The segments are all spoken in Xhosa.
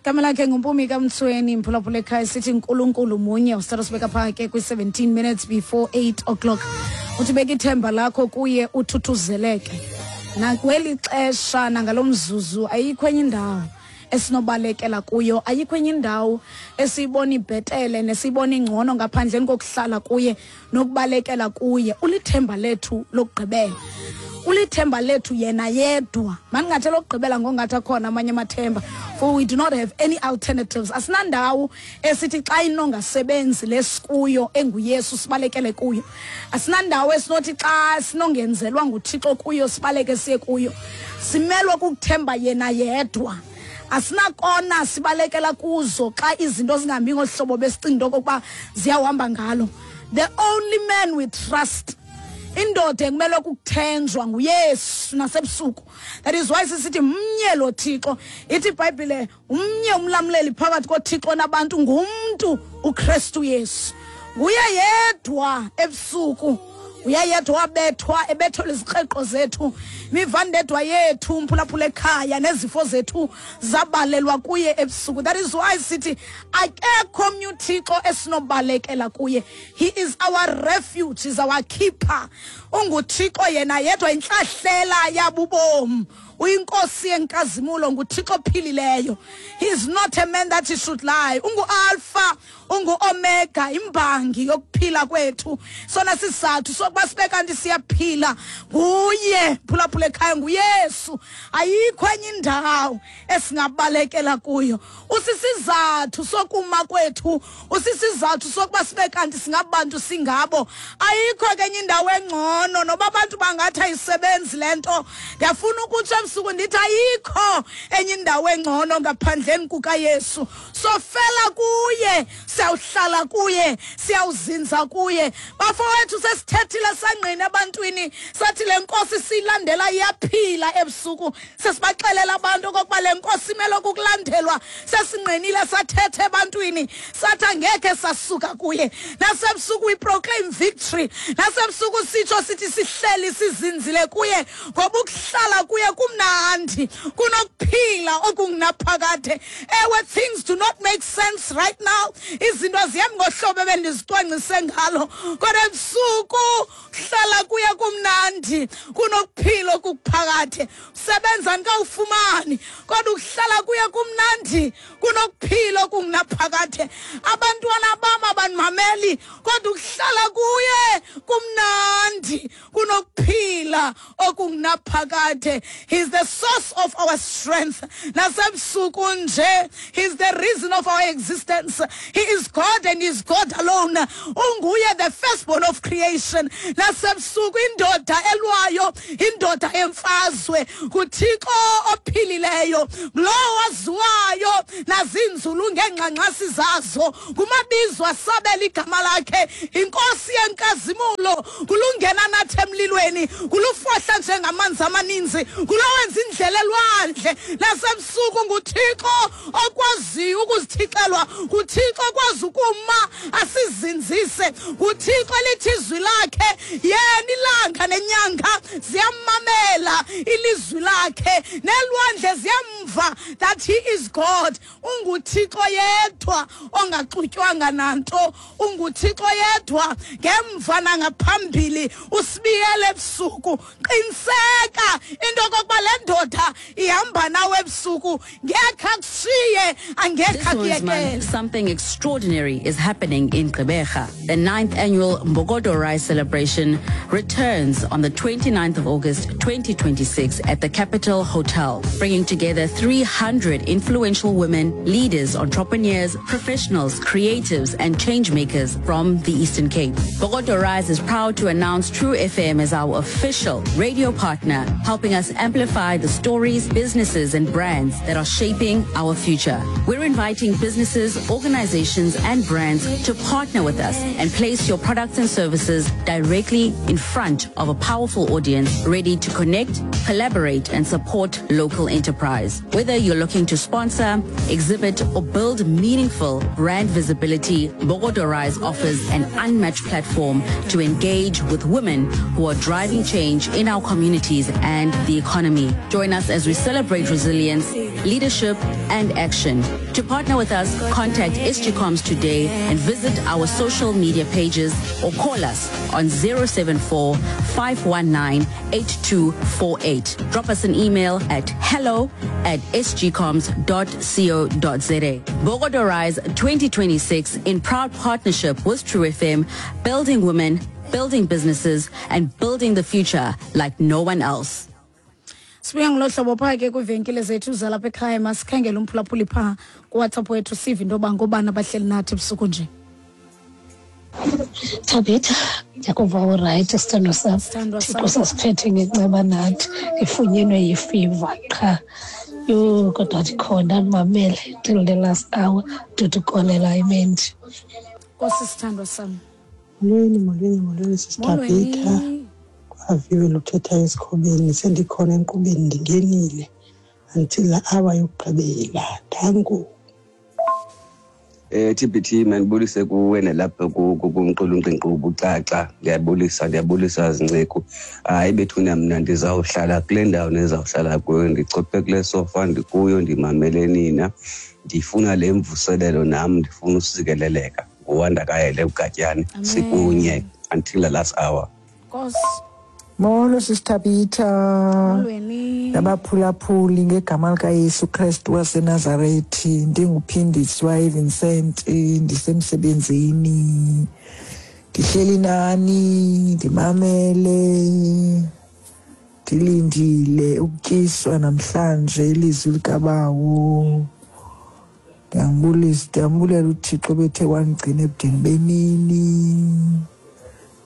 Igama lakhe nguMpumi kaMtsweni, mphulaphula ekhaya, sithi Nkulunkulu munye. Usithatha sibeka phaa ke kwi-17 minutes before 8 o'clock. Uthi beka ithemba lakho kuye uthuthuzeleke. Nakweli xesha nangalo mzuzu ayikho enye indawo esinobalekela kuyo, ayikho enye indawo esiyibona ibhetele nesiyibona ingcono ngaphandleni kokuhlala kuye nokubalekela kuye. Ulithemba lethu lokugqibela, ulithemba lethu yena yedwa. Mandingathi elokugqibela ngongathi akhona amanye amathemba, for we do not have any alternatives. Asinandawo esithi xa inongasebenzi lesikuyo enguYesu sibalekele kuyo. Asinandawo esinothi xa sinongenzelwa nguThixo kuyo sibaleke siye kuyo. Simelwe kukuthemba yena yedwa. Asinakona sibalekela kuzo xa izinto zingahambi ngohlobo besicinga into okokuba ziyawuhamba ngalo. The only man we trust, indoda ekumele ukuthenjwa nguYesu nasebusuku. That is why sisithi mnye lo Thixo. Ithi iBhayibhile umnye umlamleli phakathi koThixo nabantu, ngumntu uKristu Yesu. Nguye yedwa ebusuku, uye yedwa wabethwa ebethelwa izikreqo zethu, imivandedwa yethu, mphulaphula ekhaya, nezifo zethu zabalelwa kuye ebusuku. That is why sithi akekho omnye uThixo esinobalekela kuye. He is our refuge, is our keeper. UnguThixo yena yedwa, intlahlela yabubomi, uyinkosi yenkazimulo, nguThixo ophilileyo. He is not a man that he should lie. Ungu-Alpha, ungu-Omega, imbangi yokuphila kwethu. Sona sizathu sokuba sibe kanti siyaphila nguye, phulaphula ekhaya, nguYesu. Ayikho enye indawo esingabalekela kuyo. Usisizathu sokuma kwethu, usisizathu sokuba sibe kanti singabantu singabo. Ayikho ke enye indawo engcono, noba abantu bangathi ayisebenzi le nto. Ndiyafuna ukutsho ebusuku ndithi ayikho enye indawo engcono ngaphandleni kukaYesu. Sofela kuye, siyawuhlala kuye, siyawuzinza kuye. Bafowethu, sesithethile sangqina ebantwini, sathi le nkosi siyilandela iyaphila ebusuku. Sesibaxelela abantu okokuba le nkosi imele ukukulandelwa. Sesingqinile sathetha ebantwini, sathi angekhe sasuka kuye. Nasebusuku we proclaim victory. Nasebusuku sitsho sithi sihleli sizinzile kuye, ngoba ukuhlala kuye kumnandi kunokuphila okungunaphakade. Ewe, things do not make sense right now. Izinto azihambi ngohlobo ebendizicwangcise ngalo, kodwa ebusuku hlala kuye kumnandi kunokuphila okuphakade. Sebenza ndikawufumani, kodwa ukuhlala kuye kumnandi kunokuphila okungunaphakade. Abantwana bam abandimameli, kodwa ukuhlala kuye kumnandi kunokuphila okungunaphakade. He's the source of our strength. Nasebusuku nje, he's the reason of our existence. He is God and is God alone. Unguye the firstborn of creation. Nasebusuku indoda elwayo, indoda emfazwe, nguThixo ophilileyo, lowo waziwayo nazinzulu ngeengxangxasi zazo, ngumabizo asabela igama lakhe, inkosi yenkazimulo, kulungena nathi emlilweni, kulufohla njengamanzi amaninzi, kulowenza indlela elwandle. Nasebusuku nguThixo okwaziyo ukuzithixelwa, nguThixo okwazi ukuma asizinzise, nguThixo elithi izwi lakhe, yena ilanga nenyanga ziyamamela ilizwi lakhe, nelwandle ziyamva that he is God. UnguThixo yedwa ongaxutywanga nanto, unguThixo yedwa ngemva nangaphambili, usibiyele ebusuku. Qiniseka into okokuba le ndoda ihamba nawe ebusuku, ngekhe akushiye, angekhe This Women's Month, akuyekele. something extraordinary is happening in Gqeberha. The 9th annual Mbokodo Rise celebration returns on the 29th of August 2026 at the Capital Hotel, bringing together 300 influential women, leaders, entrepreneurs, professionals, creatives, and changemakers from the Eastern Cape. Mbokodo Rise is proud to announce True FM as our official radio partner, helping us amplify the stories, businesses, and brands that are shaping our future. We're inviting businesses, organizations, and brands to partner with us and place your products and services directly in front of a powerful audience ready to connect, collaborate, and support local enterprise. Whether you're looking to sponsor, exhibit, or build meaningful brand visibility, Bogodo Rise offers an unmatched platform to engage with women who are driving change in our communities and the economy. journey. Join us as we celebrate resilience, leadership, and action. To partner with us, contact SGComs today and visit our social media pages or call us on 074 519 8248. Drop us an email at hello at sgcoms.co.za. Bogodo Rise 2026 in proud partnership with True FM, building women, building businesses, and building the future like no one else. Sibuya ngolo hlobo phaa ke kwiivenkile zethu zalapha ekhaya. Masikhangele umphulaphuli phaa kuWhatsApp wethu, sive into yoba ngobani abahleli nathi ebusuku nje. Thabitha, ndiyakuva urayithi, sithandwa sam. Sithandwa Thixo sam. Sasiphethe ngenceba nathi, ndifunyenwe yifiva qha. Yho, kodwa ndikhona, ndimamele till the last hour. Ndodukolela imendi. Nkosi, sithandwa sam. Molweni, molweni, molweni, sisiThabitha. Molweni. Kwaviwe luthetha esikhobeni, sendikhona enkqubeni, ndingenile until la hour yokugqibela. Danko. TBT, mandibulise kuwe nalapha kumqulunqi nkqubo ucaca. Ndiyabulisa, ndiyabulisa zinceku. Hayi bethuna, mna ndizawuhlala kule ndawo nizawuhlala kuyo, ndichophe kule sofa ndikuyo, ndimamele nina. Ndifuna le mvuselelo nam, ndifuna usikeleleka. Nguwanda kayele uGatyane. Amen. Sikunye until the last hour. Nkosi. Molo sisiThabitha. Molweni. Nabaphulaphuli, ngegama likaYesu Kristu waseNazarethi, ndinguphindiswa eVincent, ndisemsebenzini, ndihleli nani, ndimamele, ndilindile ukutyiswa namhlanje ilizwi likaBawo. Ndiyambulisa, ndiyambulela uThixo bethe wandigcina ebudeni bemini.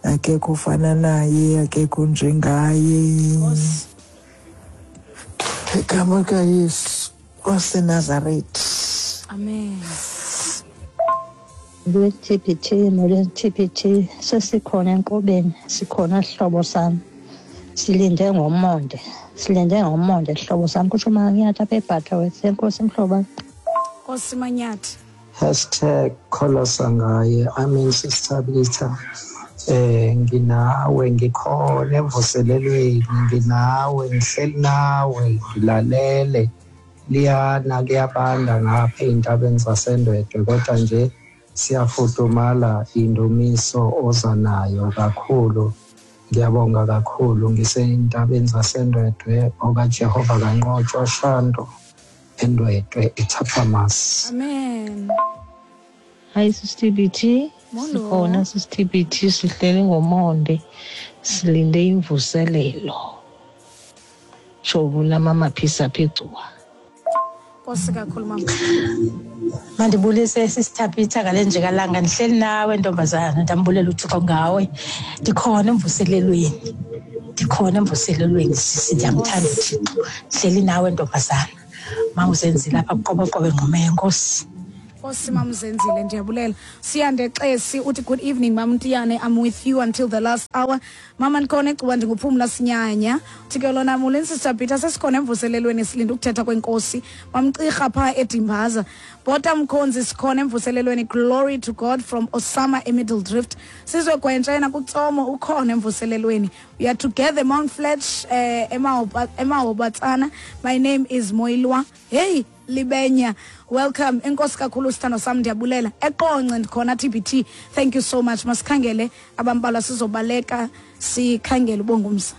Akekho ofana naye, akekho njengaye. Nkosi. Igama likaYesu waseNazarethi. Amen. Lwe-TBT, molweni TBT, sesikhona enkqubeni, sikhona sihlobo sam. Silinde ngomonde, silinde ngomonde sihlobo sam. Kutsho uManyathi apha eButterworth. Enkosi mhlobo wam. Nkosi Manyathi. #kholosa ngaye. Amen, sisithabitha. Nginawe, ngikhona emvuselelweni, nginawe, ngihleli nawe, ngilalele. Liyana, kuyabanda ngapha ey'ntabeni zaseNdwedwe, kodwa nje siyafudumala indumiso oza nayo kakhulu. Ngiyabonga kakhulu, ngisey'ntabeni zaseNdwedwe, okaJehova kanqotshwa Shandu, eNdwedwe, eThapamas. Amen. Hayi sisi-TBT. Molo. Sikhona sisi-TBT, sihleli ngomonde, silinde imvuselelo. Shobu lamamaphisa apha eGcuwa. Nkosi kakhulu, mama. Mandibulise sisithabitha ngale njekalanga, ndihleli nawe ntombazana, ndambulela uThixo ngawe. Ndikhona emvuselelweni, ndikhona emvuselelweni sisi, ndiyamthanda uThixo. Ndihleli nawe ntombazana, mawuzenzile apha kuqoboqobo engquma yenkosi. Nkosi mamzenzile, ndiyabulela. Siyande Xesi uthi good evening mamntiyane, I'm with you until the last hour. Mama, ndikhona eGcuwa, ndinguphumla sinyanya. Uthi ke lona molweni Sister Peter, sesikhona emvuselelweni, silinde ukuthetha kwenkosi. Mamcirha phaa eDimbaza. Bota mkhonzi, sikhona emvuselelweni, glory to God from Osama eMiddle Drift. Sizwe Gwentsha yena kuTsomo, ukhona emvuselelweni. We are together Mount Fletch, emahobatsana. My name is Moilwa. Hey Libenya, welcome. Enkosi kakhulu sithando sam, ndiyabulela. EQonce ndikhona TBT, thank you so much. Masikhangele abambalwa, sizobaleka sikhangele ubongumsa.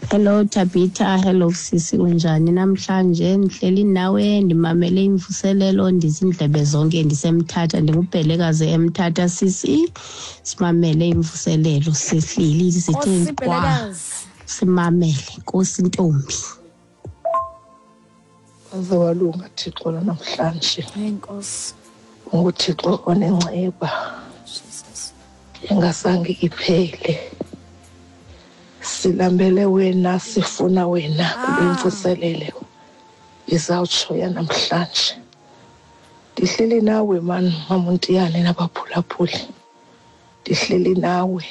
Hello Tabitha, hello sisi, unjani namhlanje? Ndihleli nawe, ndimamele imvuselelo, ndizindlebe zonke, ndisemthatha, ndingubhelekazi eMthatha sisi. Simamele imvuselelo, sihleli sithe Nkosi kwa Bhelekazi. simamele. Nkosi ntombi. Waze walunga Thixo namhlanje. Enkosi. UnguThixo onenceba Jesus. engasange iphele. Silambele wena, sifuna wena kule mvuselelo izawutsho yanamhlanje. Ndihleli nawe mani maMontiyane nabaphulaphuli. Ndihleli nawe,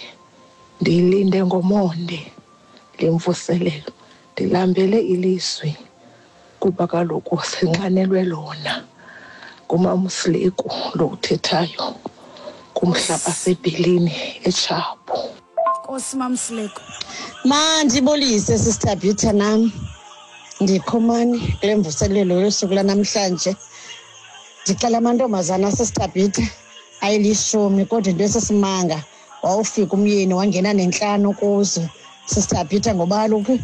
ndiyilinde ngomonde le mvuselelo. Ndilambele ilizwi kuba kaloku sinxanelwe lona. NguMamSileku lo uthethayo kumhlaba sebhilini eTshapo. Nkosi Mamsileko. Mandibulise sisithabitha nam. Ndikhomani kule mvuselelo yosuku lanamhlanje. Ndixela amantombazana aseStabitha ayilishumi, kodwa into esesimanga wawufika umyeni wangena nentlanu kuzo, Sister Peter, ngoba kaloku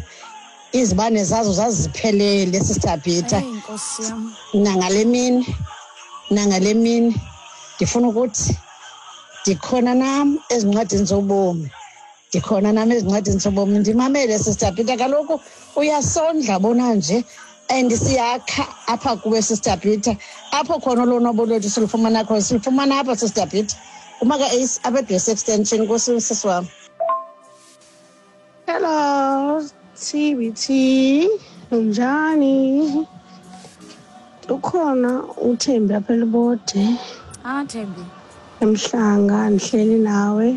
izibane zazo zaziphelele, Sister Peter. Eyi, Nkosi yam. Nangale mini, nangale mini ndifuna ukuthi ndikhona nam ezincwadini zobomi, ndikhona nam ezincwadini zobomi. Ndimamele, Sister Peter, kaloku uyasondla bona nje and siyakha apha kuwe, Sister Peter. Apho khona ulonwabo lwethu silufumana khona, silufumana apha, Sister Peter. Umaka Ace apha eDwesi Extension. Nkosi, sisi wam. Hello, TBT. Unjani? Ukhona uThembi apha eLibode. Ah, Thembi. Emhlanga ndihleli nawe.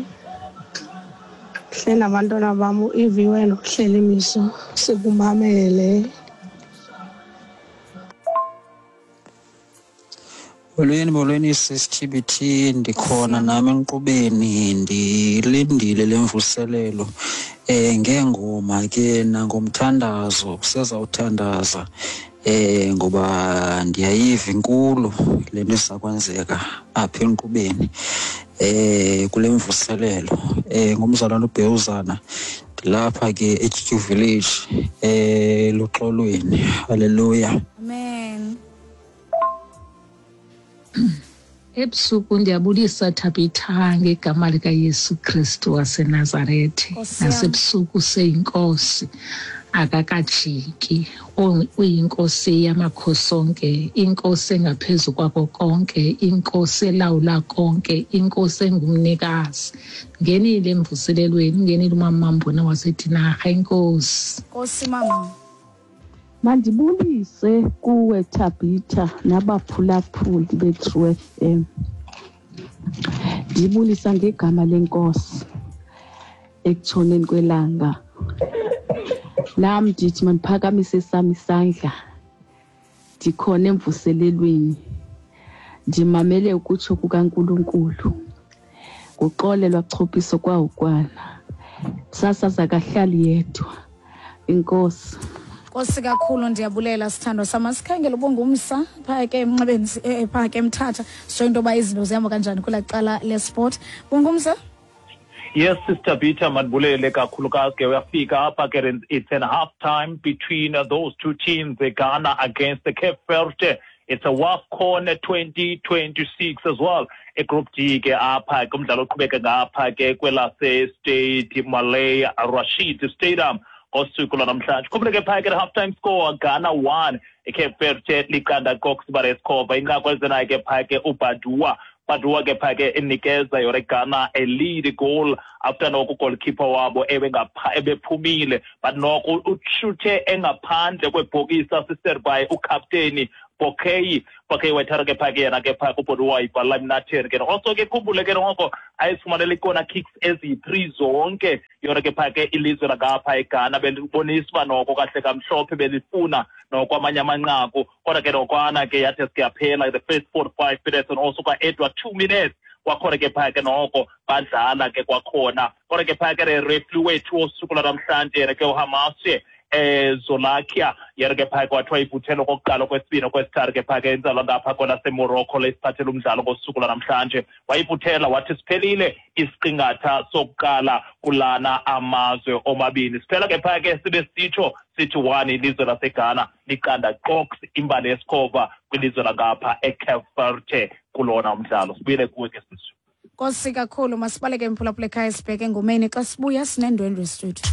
Ndihleli nabantwana bam uIviwe noHleli Miso. Sikumamele. Molweni, molweni sisi-TBT, ndikhona nami enkqubeni, ndilindile le mvuselelo ngeengoma ke nangomthandazo. Kusezawuthandaza ngoba ndiyayiva inkulu le nto iza kwenzeka apha enkqubeni kule mvuselelo. Ngumzalwane uBhewuzana, ndilapha ke eTyutyu Village eluxolweni. Haleluya. Amen. Ebusuku ndiyabulisa Thabitha ngegama likaYesu Kristu waseNazarethe. Nkosi yam. Nasebusuku seyinkosi akakajiki. Uyinkosi yamakhosi onke, inkosi engaphezu kwako konke, inkosi elawula konke, inkosi engumnikazi. Ngenile emvuselelweni, ungenile umama Mbona waseDinarha, inkosi. Nkosi mama. Mandibulise kuwe Thabitha nabaphulaphuli be-True FM. Ndibulisa ngegama lenkosi ekutshoneni kwelanga. Nam ndithi mandiphakamise sam isandla, ndikhona emvuselelweni, ndimamele ukutsho kukaNkulunkulu. Nguxolelwa Chophiso kwawukwana, sasaza kahlali yedwa. Inkosi. Nkosi kakhulu, ndiyabulela sithandwa sam. Asikhangele ubungumsa phaa ke emnxebeni, phaa ke eMthatha, sitsho into yoba izinto zihamba kanjani kwelaa cala lesport. Bungumsa. Yes, Sister Peter, mandibulele kakhulukazi ke. Uyafika apha ke, it's an half time between those two teams, the Ghana against the Cape Verde. It's a WAFCON 2026 as well. E-Group D ke apha ke umdlalo oqhubeka ngapha ke kwelase State Malay Rashid Stadium ngosuku lwanamhlanje. Khumbule ke phaya ke half time score, Ghana 1, iCape Verde 0 kokusibala esikhova. Inqaku elizenayo ke phaya ke uBadua, Badua ke phaya ke inikeza yona iGhana a lead goal after noko goalkeeper wabo ebephumile, but noko ushuthe engaphandle kwebhokisi, assisted by ukapteni Bokey. Bokey wayithatha ke phaya ke yena ke phaya kuBodua, wayibhala emnatheni ke. Also ke khumbule ke noko ayizifumanele ii-corner kicks eziyi-3 zonke yona ke phaya ke ilizwe langapha eGhana. Belibonisa uba noko kahle kamhlophe belifuna noko amanye amanqaku, kodwa ke nokwana ke yathi sike yaphela the first 45 minutes and also kwa-Edward 2 minutes kwakhona ke phaya ke noko badlala ke kwakhona. Kodwa ke phaya ke referee wethu wosuku lwanamhlanje yena ke uHamashe Zolakia, yena ke phaya kwathiwa ivuthelo kokuqala, kwesibini, kwesithathu ke phaya ke inzalwa ngapha kwelaseMorocco lesiphathela umdlalo ngosuku lwanamhlanje, wayivuthela wathi siphelile isiqingatha sokuqala kulana amazwe omabini. Siphela ke phaya ke sibe sitsho sithi 1 ilizwe laseGhana 0 qox imbali yesikhova kwilizwe langapha eCape Verde kulona umdlalo. Sibuyele kuwe ke sisi. Nkosi kakhulu, masibaleke mphulaphula ekhaya sibheke engomeni. Xa sibuya sinendwendwe studio.